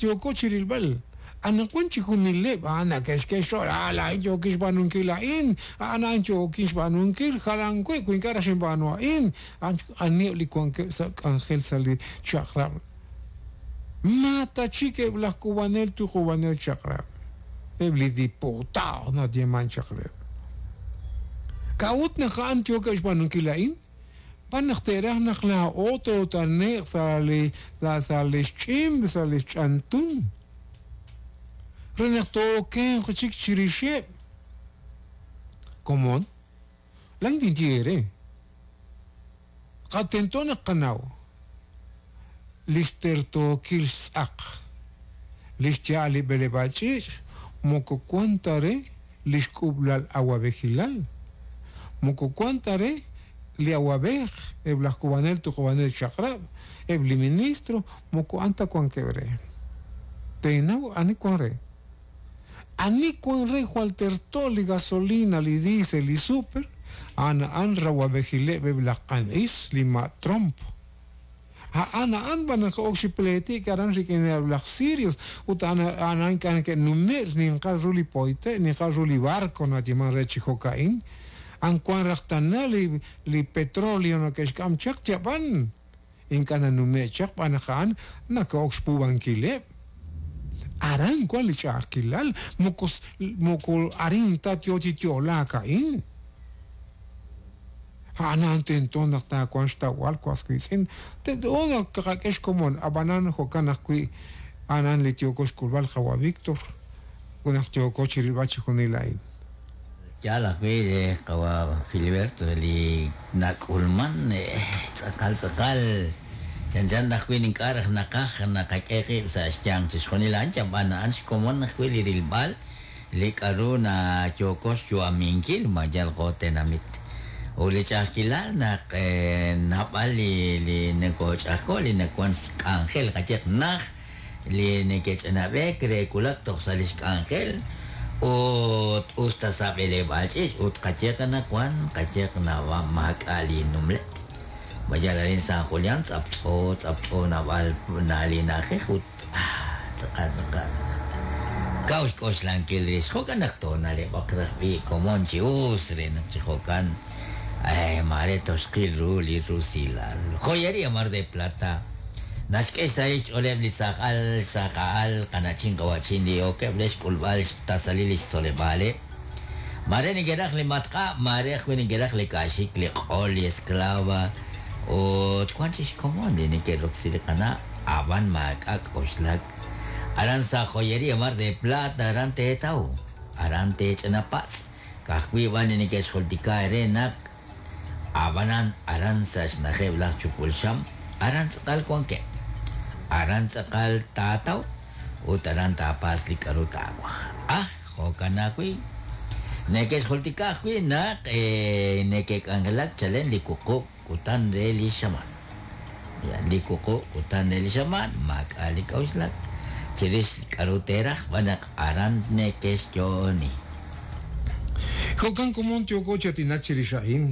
yooko chi rilb'al. Anaqwan chijunileb' a'an nake'xk'e xch'ool, ah, laa'in yookin xb'aanunkil a'in, a'an a'an yookin xb'aanunkil, jalan wi' wi ink'a' raj xinb'aanu a'in. A'an aniheb' li wankeb' sa' k'anjel sa' li chaq'rab'. Ma ta chik eb' laj k'uub'anel tuqub'anel chaq'rab', eb' li diputado nayeeman chaq reheb'. K'a'ut naq a'an yookeb' xb'aanunkil a'in? B'an naq te'raj naq laa'o toot'ane'q sa' li sa' li xch'imb' sa' li xch'antun re naq too'okenq chik chirixeb'. Komon, laa'in tinye eere, qa tento naq qanaw lix tertookil xtz'aq lix ya'al li b'eleb'aal ch'iich' moko wan ta re li xk'ub'lal awab'ejilal, moko wan ta re li awab'ej, eb' laj k'uub'anel tuqub'anel chaq'rab', eb' li ministro, moko a'an ta wankeb' re. Teenaw ani wan re. Ani wan re jwal terto li gasolina, li diesel, li super, a'an a'an rawab'ejileb' eb' laj q'an is, li ma' tromp. A'an a'an b'an naq ok chi pleetik aran rik'ineb' laj Sirios, ut a'an a'an ink'a' neke'nume'k xninqal ru li poyte', xninqal ru li barco nayeeman re chi jo'ka'in. A'an wank raj tana li li petróleo neke'xk'am chaq yab'an, ink'a' nanume'k chaq b'an naq a'an nake'ok xpuub'ankileb'. Aran wank li ch'a'ajkilal, moko moko arin ta yo chi yo'laak a'in. A'an a'an tento naq taawanq xtawb'al was wiitz'in, tento naq tqak'e xkomon, ab'anan jo'kan ajwi' a'an a'an li yooko xk'ulb'al qawa' Víctor ut naq yooko chi rilb'al chixjunil a'in. Yaal ajwi' qawa' Filiberto li nak'ulman tz'aqal tz'aqal chanchan ajwi' ink'a' raj naqaj naqak'e qib' sa' xyanq chixjunil a'an yab'an a'an xkomon ajwi' li rilb'al li k'a'ru nayooko xyu'aminkil ma yal jo' tenamit. Ut li ch'a'ajkilal naq naab'al li li nokoch'a'ajko' li nawan xk'anjel qayehaq naj li neke'ch'anab'eek re wulak toj sa' lix k'anjel ut us ta sa' b'eleb'aal ch'iich' ut qayehaq anaqwan qayehaq naab'al maak'a' li numleb'. Ma yal arin San Julián tz'aptz'o tz'aptz'o naab'al li na'ajej ut Tz'aqal tz'aqal. Kaw xk'oxlankil rix. Jo'kan naq toona'leb'aq raj b'i' komon chi us re naq chi jo'kan maare toxqil ru li rusilal. Joyería Mar de Plata naxk'e xsahil xch'ooleb' li saaj al, saaj a'al, qana'chin qawa'chin li yookeb' re xk'ulb'al xtasalil li xtzoleb'aaleb'. Maare neke'raj li matq'ab', maare ajwi' neke'raj li ka'xik, li q'ol, li esklava, ut wan chik xkomon li neke'roksi li qana', a'b'an maak'a' k'oxlak. Aran sa' Joyería Mar de Plata aran teetaw, aran teech'ina patz', ka'ajwi' b'an li neke'xjultika eere naq a'b'anan aran sa' xna'ajeb' laj chupul xam, aran tz'aqal wankeb'. Aran tz'aqal taataw ut aran taapatz' li k'a'ru taawaj. Ah, jo'kan ajwi'. Neke'xjultika ajwi' naq neke'k'anjelak chalen li wuqub' kutan re li xamaan. Li wuqub' kutan re li xamaan maak'a' li k'a'uxlak chirix k'a'ru teeraj xb'aan naq aran neke'xyo'oni. Jo'kan komon yooko chi aatinak chirix a'in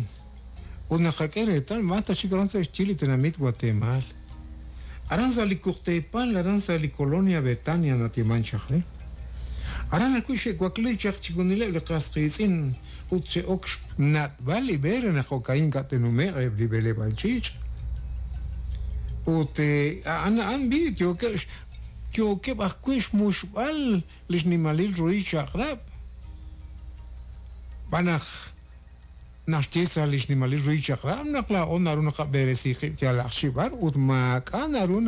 ut naqak'e reetal ma ta chik aran sa' xyi li tenamit Watemaal. Aran sa' li kuqteepal aran sa' li Colonia Betania nayeeman chaq re. Aran ajwi' xe'wakli chaq chixjunileb' li qas qiitz'in ut xe'ok xnat'b'al li b'e re naq jo'ka'in ink'a' te'nume'q eb' li b'eleb'aal ch'iich'. Ut a'an a'an b'i' yookeb' yookeb' ajwi' xmuxb'al li xnimalil ruhil chaq'rab'. Xb'aan naq Naxye sa' li xnimalil ruhil chaq'rab' naq laa'o naru naqab'eresi qib' yalaq chi b'ar ut maak'a' naru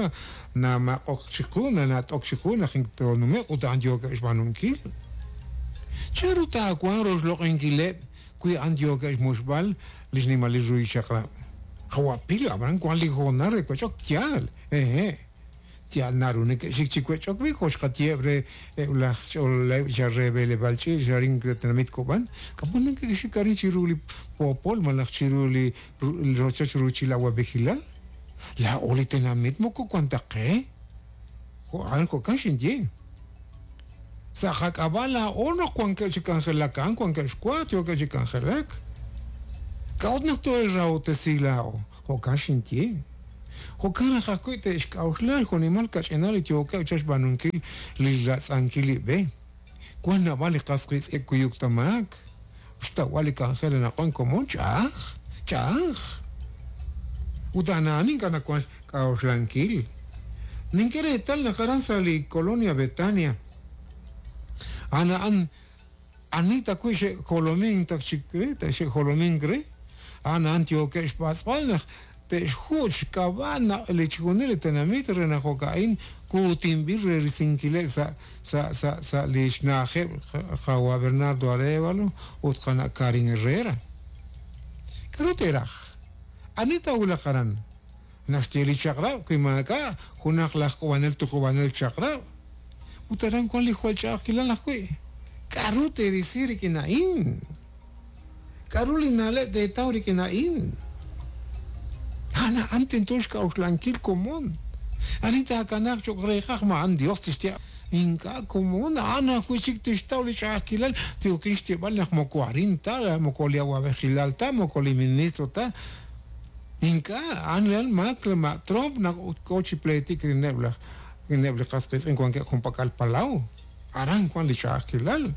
namaq'ok chiqu, nanat'ok chiqu naq toonume'q ut a'an yookeb' xb'aanunkil. Chanru taawanq roxloq'inkileb' wi a'an yookeb' xmuxb'al li xnimalil ruhil chaq'rab'? Qawa' Pilo, ab'anan wank li hoonal re wech'ok, yaal, hehe'. Yaal naru neke'xik chi wech'ok wi' jo' xqayeheb' re eb' laj ch'ololeb' xa re b'eleb'aal ch'iich' arin re tenamit Kob'an, k'a'ut neke'xik arin chiru li poopol malaj chiru li rochoch ruuchil awab'ejilal? Laa'o li tenamit moko wank ta qe. Jo' a'an jo'kan xinye. Sa' qak'ab'a' laa'o naq wankeb' chi k'anjelak a'an wankeb' xwa yookeb' chi k'anjelak. K'a'ut naq too'e'xrahob'tesi laa'o? Jo'kan xinye. Jo'kan raj ajwi' te'xk'a'uxla jo'nimal kach'inal li yookeb' chaq xb'aanunkil li ratz'ankil li b'e. Wan naab'al li qas qiitz'in kuyuk ta maak. Xtawb'al li k'anjel anaqwan komon ch'a'aj, ch'a'aj. Ut a'an ink'a' nawank xk'a'uxlankil. Nink'e reetal naq aran sa' li Colonia Betania, a'an a'an ani ta wi' xe'jolomink taq chik re, xe'jolomink re, a'an a'an yookeb' xpatz'b'al naq te'xjuch' xk'ab'a' naq li chixjunil li tenamit re naq jo'ka'in kuutinb'il re risinkileb' sa' sa' sa' sa' li xna'ajeb' qawa' Bernardo Arévalo ut qana' Karin Herrera. K'aru teeraj? Ani taawulaq aran? Naxye li chaq'rab' wi maak'a' junaq laj k'uub'anel tuqub'anel chaq'rab'. Ut aran wank li jwal ch'a'ajkilal ajwi'. K'aru teerisi rik'in a'in? K'aru li na'leb' teetaw rik'in a'in? A'an a'an tento xk'a'uxlankil komon. Ani taakanaaq cho'q reeqaj ma a'an Dios tixye ink'a' komon, a'an ajwi' chik tixtaw li ch'a'ajkilal. Yookin xyeeb'al naq moko arin ta, moko li awab'ejilal ta, moko li ministro ta. Ink'a', a'an a'an maak ma' Trump naq k'o chi pleetik rik'ineb' laj rik'ineb' li qas qiitz'in wankeb' junpak'al palaw. Aran wank li ch'a'ajkilal.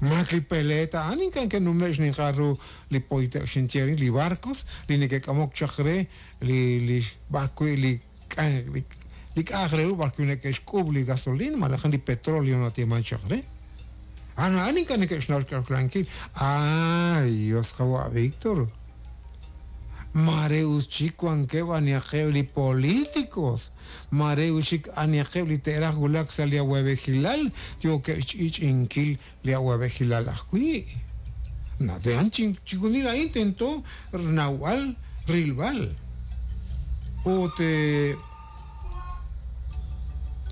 Maak li peleet a'an ink'a' ke'nume'k xninqal ru li poyte' xinye rin li barcos li neke'k'amok chaq re li li b'arwi' li li k'a'aq re ru b'arwi' neke'xk'uub' li gasolina malaj li petróleo nayeeman chaq re. A'an a'an ink'a' neke'xnaw xk'a'uxlankil. Ay, Dios qawa' Víctor. Maare us chik wankeb' anihaqeb' li políticos, maare us chik anihaqeb' li te'raj wulak sa' li awab'ejilal yookeb' xch'i'ch'i'inkil li awab'ejilal ajwi'. Nate'an chixjunil a'in tento rnawb'al rilb'al. Ut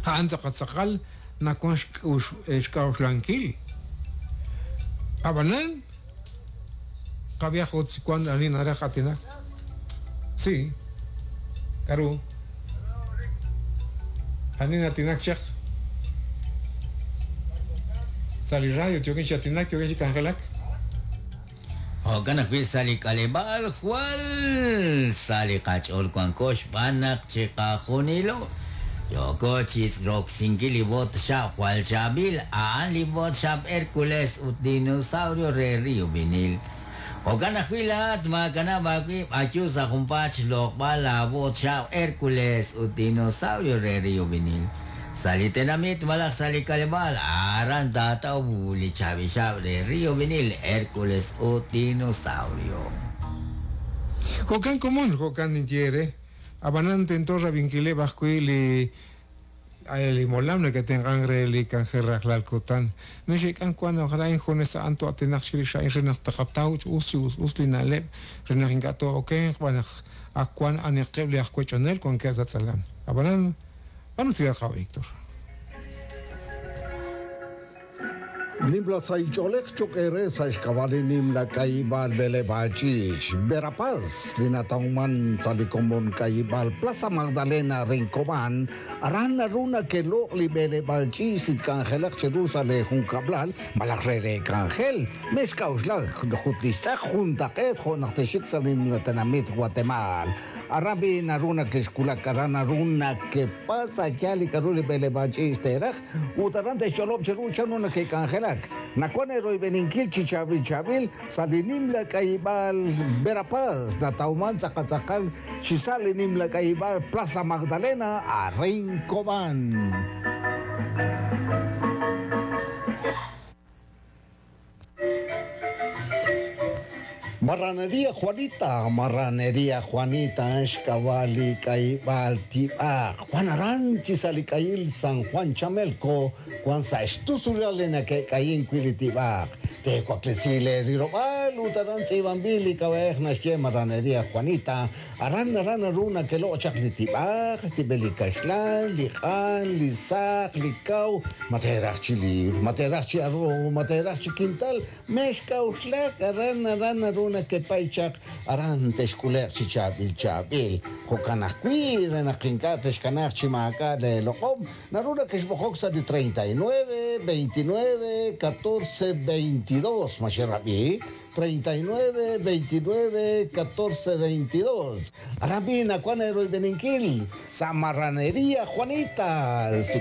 a'an tz'aqal tz'aqal nawank xk'a'uxlankil. Ab'anan qab'ihaq ut wank ani naraj aatinak. Sí. K'aru? Ani natinak chaq? Sa' li radio yookin chi aatinak, yookin chi k'anjelak. Jo'kan ajwi' sa' li k'aleb'aal jwal sa' li qach'ool wanko xb'aan naq chiqajunilo yooko chi roksinkil li bot xab' jwal chaab'il, a'an li bot xab' Hércules ut dinosaurio re Río Vinil. Jo'kan ajwi' laa'at maakanab' aawib' ayu sa' junpaat xloq'b'al laabot xab' Hércules ut dinosaurio re Río Vinil. Sa' li tenamit malaj sa' li k'aleb'aal, aran taataw li chaab'il xab' re Río Vinil, Hércules ut dinosaurio. Jo'kan komon, jo'kan ninye eere. Ab'anan tento rab'inkileb' ajwi' li li molam neke'tenq'ank re li k'anjel rajlal kutan. Mexe'k'ank wank naq laa'in junes a'an to'atinaq chirix a'in re naq taqataw chi us chi us us li na'leb' re naq ink'a' too'okenq xb'aan naq ak wank aniqeb' li aj wech'onel wankeb' sa' tz'alam. Ab'anan b'an usilal qawa' Víctor. Nimla sahil ch'oolej cho'q eere sa' xk'ab'a' li nimla k'ayib'aal b'eleb'aal ch'iich' Verapaz li natawman sa' li komon k'ayib'aal Plaza Magdalena Rincobán. Aran naru nake'loq' li b'eleb'aal ch'iich' li tk'anjelaq cheru sa' leejunkab'lal malaj re leek'anjel. Mexk'a'uxlak ut li xtz'aq juntaq'eet jo' naq texxik sa' li nimla tenamit Watemaal. Aran b'i' naru nake'xwulak, aran naru nakepatz' a' yaal li k'a'ru li b'eleb'aal ch'iich' teeraj, ut aran te'xch'olob' cheru chanru nake'k'anjelak. Nawank eeroyb'eninkil chi chaab'il chaab'il sa' li nimla k'ayib'aal Verapaz, natawman tz'aqal tz'aqal chi sa' li nimla k'ayib'aal Plaza Magdalena, arin Cobán. Marranería Juanita, Marranería Juanita, xk'ab'a' li k'ayib'aal tib'aq. Wan aran chi sa' li k'ayil San Juan Chamelco, wan sa' xtusulal li nake'k'ayink wi' li tib'aq. Teewaklesi leerilob'aal ut aran tz'iib'anb'il li k'ab'a'ej naxye Marranería Juanita. Aran aran naru nake'loq' chaq li tib'aq, xtib'el li kaxlan, li q'an, li saq, li kaw, ma teeraj chi liibr, ma teeraj chi arroz, ma teeraj chi kintal, mexk'a'uxlak, aran aran naru nakepay chaq aran texk'ule'q chi chaab'il chaab'il. Jo'kan ajwi' re naq ink'a' texkanaaq chi maak'a' leeloq'om naru nakexb'oqok sa' li 39 29 14 22. Ma xerab'i? 39 29 14 22. Aran b'i nawan eeroyb'eninkil sa' Marraneria Juanita. Si.